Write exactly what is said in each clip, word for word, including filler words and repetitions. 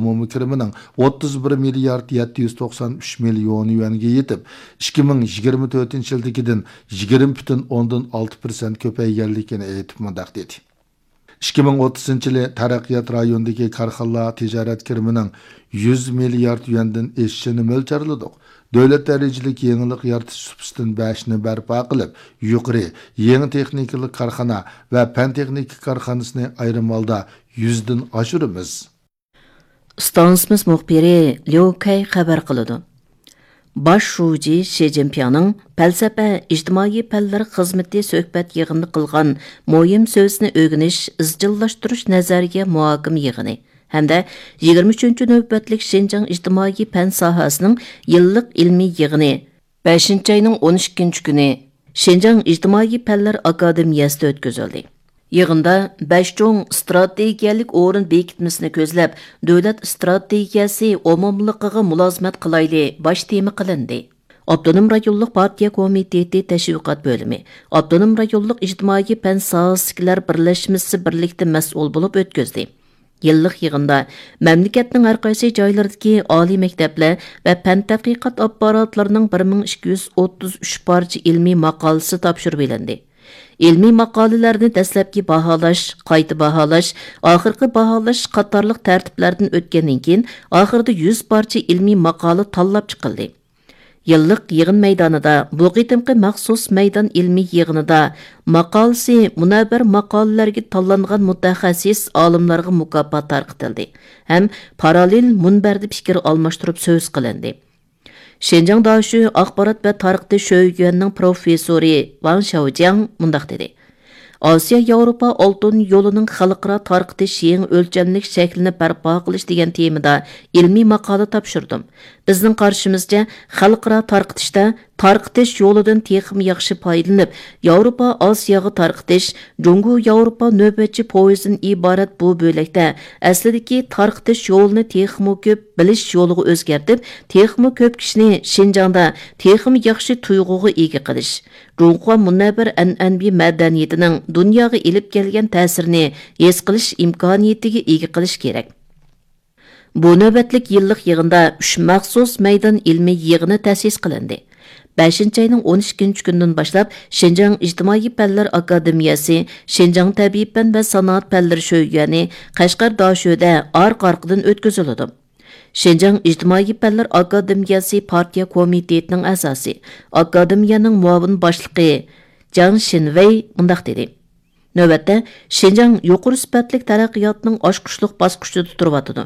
ئومۇمىي كىرىمىنىڭ ئوتتۇز بىر مىليارد يەتتە يۈز توقسان ئۈچ مىليون يۈەنگە يېتىپ، ئىككى مىڭ يىگىرمە تۆتىنچى يىلدىكىدىن يىگىرمە پۈتۈن ئوندىن ئالتە پىرسەنت كۆپەيگەنلىكىنى ئېيتىپ مۇنداق دېدى: «ئىككى مىڭ ئوتتۇزىنچى يىلى تەرەققىيات رايونىدىكى كارخانىلار تىجارەت كىرىمىنىڭ يۈز مىليارد يۈەندىن ئېشىشىنى مۆلچەرلىدۇق. دۆلەت دەرىجىلىك يېڭىلىق يارىتىش سۇپىسىدىن بەشنى بەرپا قىلىپ، يۇقىرى، يېڭى تېخنىكىلىق كارخانا ۋە پەن تېخنىكا كارخانىسىنى ئايرىم ھالدا يۈزدىن ئاشۇرىمىز.» ئىستانسىمىز مۇخبىرى ليۇ كەي خەۋەر قىلىدۇ. باش شۇجى شى جىنپىڭنىڭ پەلسەپە، ئىجتىمائىي پەنلەر خىزمىتى سۆھبەت يىغىنىدا قىلغان مۇھىم سۆزىنى ئۆگىنىش، ئىزچىللاشتۇرۇش نەزەرىيە مۇھاكىمە يىغىنى ھەمدە يىگىرمە ئۈچىنچى نۆۋەتلىك شىنجاڭ ئىجتىمائىي پەن ساھەسىنىڭ يىللىق ئىلمىي يىغىنى بەشىنچى ئاينىڭ ئون ئىككىنچى كۈنى شىنجاڭ ئىجتىمائىي پەنلەر ئاكادېمىيەسىدە ئۆتكۈزۈلدى. يىغىندا بەش چوڭ ئىستراتېگىيەلىك ئورۇن بېكىتمىسىنى كۆزلەپ، دۆلەت ئىستراتېگىيەسى ئومۇملۇقىغا مۇلازىمەت قىلايلى باش تېما قىلىندى. ئاپتونوم رايونلۇق پارتىيە كومىتېتى تەشۋىقات بۆلۈمى، ئاپتونوم رايونلۇق ئىجتىمائىي پەن ساھەسىدىكىلەر بىرلەشمىسى بىرلىكتە مەسئۇل بولۇپ ئۆتكۈزدى. يىللىق يىغىندا مەملىكەتنىڭ ھەر قايسى جايلىرىدىكى ئالىي مەكتەپلەر ۋە پەن تەتقىقات ئاپپاراتلىرىنىڭ بىر مىڭ ئىككى يۈز ئوتتۇز ئۈچ پارچە ئىلمىي ماقالىسى تاپشۇرۇۋېلىندى. ئىلمىي ماقالىلەرنى دەسلەپكى باھالاش، قايتا باھالاش، ئاخىرقى باھالاش قاتارلىق تەرتىپلەردىن ئۆتكەندىن كېيىن، ئاخىرىدا يۈز پارچە ئىلمىي ماقالە تاللاپ چىقىلدى. يىللىق يىغىن مەيدانىدا، بۇ قېتىمقى مەخسۇس مەيدان ئىلمىي يىغىنىدا ماقالىسى مۇنەۋۋەر ماقالىلەرگە تاللانغان مۇتەخەسسىس ئالىملارغا مۇكاپات تارقىتىلدى ھەم پاراللېل مۇنبەردە پىكىر ئالماشتۇرۇپ سۆز قىلىندى. شىنجاڭ داشۆ ئاخبارات ۋە تارقىتىش شۆيۈەننىڭ پروفېسسورى ۋاڭ شياۋجياڭ مۇنداق دېدى: «ئاسىيا ياۋروپا ئالتۇن يولىنىڭ خەلقئارا تارقىتىش يېڭى ئۆلچەملىك شەكلىنى بەرپا قىلىش» دېگەن تېمىدا ئىلمىي ماقالە تاپشۇردۇم. بىزنىڭ قارىشىمىزچە، خەلقئارا تارقىتىشتا تارقىتىش يولىدىن تېخىمۇ ياخشى پايدىلىنىپ، ياۋروپا ئاسىياغا تارقىتىش، جۇڭگو ياۋروپا نۆۋەتچى پويىزىدىن ئىبارەت بۇ بۆلەكتە ئەسلىدىكى تارقىتىش يولىنى تېخىمۇ كۆپ بىلىش يولىغا ئۆزگەرتىپ، تېخىمۇ كۆپ كىشىنى شىنجاڭدا تېخىمۇ ياخشى تۇيغۇغا ئىگە قىلىش، جۇڭخۇا مۇنەۋۋەر ئەنئەنىۋى مەدەنىيىتىنىڭ دۇنياغا ئېلىپ كەلگەن تەسىرىنى ھېس قىلىش ئىمكانىيىتىگە ئىگە قىلىش كېرەك. بۇ نۆۋەتلىك يىللىق يىغىندا ئۈچ مەخسۇس مەيدان ئىلمىي يىغىنى تەسىس قىلىندى. بەشىنچى ئاينىڭ ئون ئىككىنچى كۈنىدىن باشلاپ، شىنجاڭ ئىجتىمائىي پەنلەر ئاكادېمىيەسى، شىنجاڭ تەبىئىي پەن ۋە سانائەت پەنلىرى شۆيۈەنى، قەشقەر داشۆدە ئارقا-ئارقىدىن ئۆتكۈزۈلىدۇ. شىنجاڭ ئىجتىمائىي پەنلەر ئاكادېمىيەسى پارتىيە كومىتېتىنىڭ ئەزاسى، ئاكادېمىيەنىڭ مۇئاۋىن باشلىقى جاڭ شىنۋېي مۇنداق دېدى: «نۆۋەتتە، شىنجاڭ يۇقىرى سۈپەتلىك تەرەققىياتنىڭ ئاچقۇچلۇق باسقۇچىدا تۇرۇۋاتىدۇ.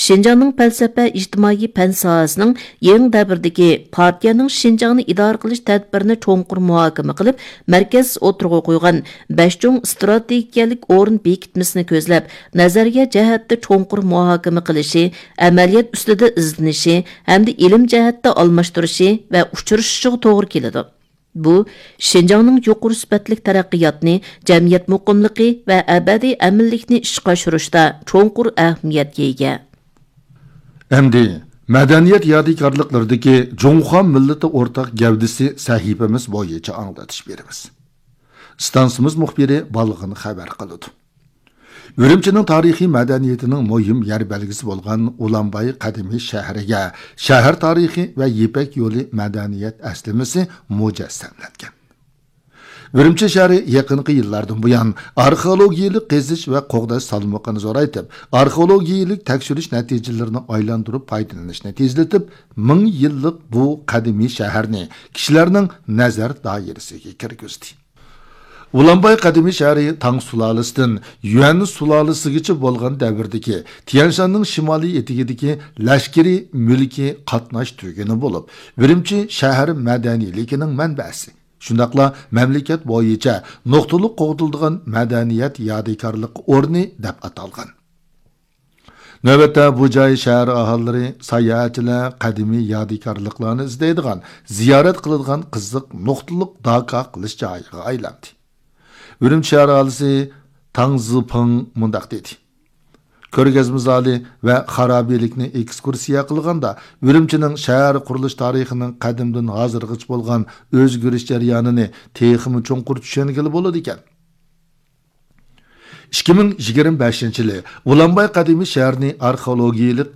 شىنجاڭنىڭ پەلسەپە ئىجتىمائىي پەن ساھەسىنىڭ يېڭى دەۋردىكى پارتىيەنىڭ شىنجاڭنى ئىدارە قىلىش تەدبىرىنى چوڭقۇر مۇھاكىمە قىلىپ، مەركەز ئوتتۇرىغا قويغان بەش چوڭ ئىستراتېگىيەلىك ئورۇن بېكىتمىسىنى كۆزلەپ، نەزەرىيە جەھەتتە چوڭقۇر مۇھاكىمە قىلىشى، ئەمەلىيەت ئۈستىدە ئىزدىنىشى ھەمدە ئىلىم جەھەتتە ئالماشتۇرۇشى ۋە ئۇچرىشىشىغا توغرا كېلىدۇ. بۇ، شىنجاڭنىڭ يۇقىرى سۈپەتلىك تەرەققىياتنى، جەمئىيەت مۇقىملىقى ۋە ئەبەدىي ئەمىنلىكنى ئىشقا ئاشۇرۇشتا چوڭقۇر ئەھمىيەتكە ئىگە.» ئەمدى مەدەنىيەت يادىكارلىقلىرىدىكى جۇڭخۇا مىللىتى ئورتاق گەۋدىسى سەھىپىمىز بويىچە ئاڭلىتىش بېرىمىز. ئىستانسىمىز مۇخبىرى بالغىن خەۋەر قىلىدۇ. ئۈرۈمچىنىڭ تارىخىي مەدەنىيىتىنىڭ مۇھىم يەر بەلگىسى بولغان ئۇلانباي قەدىمىي شەھىرىگە شەھەر تارىخى ۋە يىپەك يولى مەدەنىيەت ئەسلىمىسى مۇجەسسەملەنگەن. ئۈرۈمچى شەھىرى يېقىنقى يىللاردىن بۇيان ئارخېئولوگىيەلىك قېزىش ۋە قوغداش سالمىقىنى زورايتىپ، ئارخېئولوگىيەلىك تەكشۈرۈش نەتىجىلىرىنى ئايلاندۇرۇپ پايدىلىنىشنى تېزلىتىپ، مىڭ يىللىق بۇ قەدىمىي شەھەرنى كىشىلەرنىڭ نەزەر دائىرىسىگە كىرگۈزدى. ئۇلانباي قەدىمىي شەھىرى تاڭ سۇلالىسىدىن يۈەن سۇلالىسىگىچە بولغان دەۋردىكى تيەنشاننىڭ شىمالىي ئېتىكىدىكى لەشكىرىي مۈلكىي قاتناش تۈگۈنى بولۇپ، ئۈرۈمچى شەھەر مەدەنىيلىكىنىڭ مەنبەسى، شۇنداقلا مەملىكەت بويىچە نۇقتىلىق قوغدىلىدىغان مەدەنىيەت يادىكارلىق ئورنى دەپ ئاتالغان. نۆۋەتتە بۇ جاي شەھەر ئاھالىلىرى، ساياھەتچىلەر قەدىمىي يادىكارلىقلارنى ئىزدەيدىغان، زىيارەت قىلىدىغان قىزىق نۇقتىلىق داكا قىلىش جايىغا ئايلاندى. ئۈرۈمچى شەھەر ئاھالىسى تاڭ زىپىڭ مۇنداق دېدى: «كۆرگەزمە زالى ۋە خارابىلىكنى ئېكسكۇرسىيە قىلغاندا، ئۈرۈمچىنىڭ شەھەر قۇرۇلۇش تارىخىنىڭ قەدىمدىن ھازىرغىچە بولغان ئۆزگىرىش جەريانىنى تېخىمۇ چوڭقۇر چۈشەنگىلى بولىدىكەن.» ئىككى مىڭ يىگىرمە بەشىنچى يىلى ئۇلانباي قەدىمىي شەھىرىنى ئارخېئولوگىيەلىك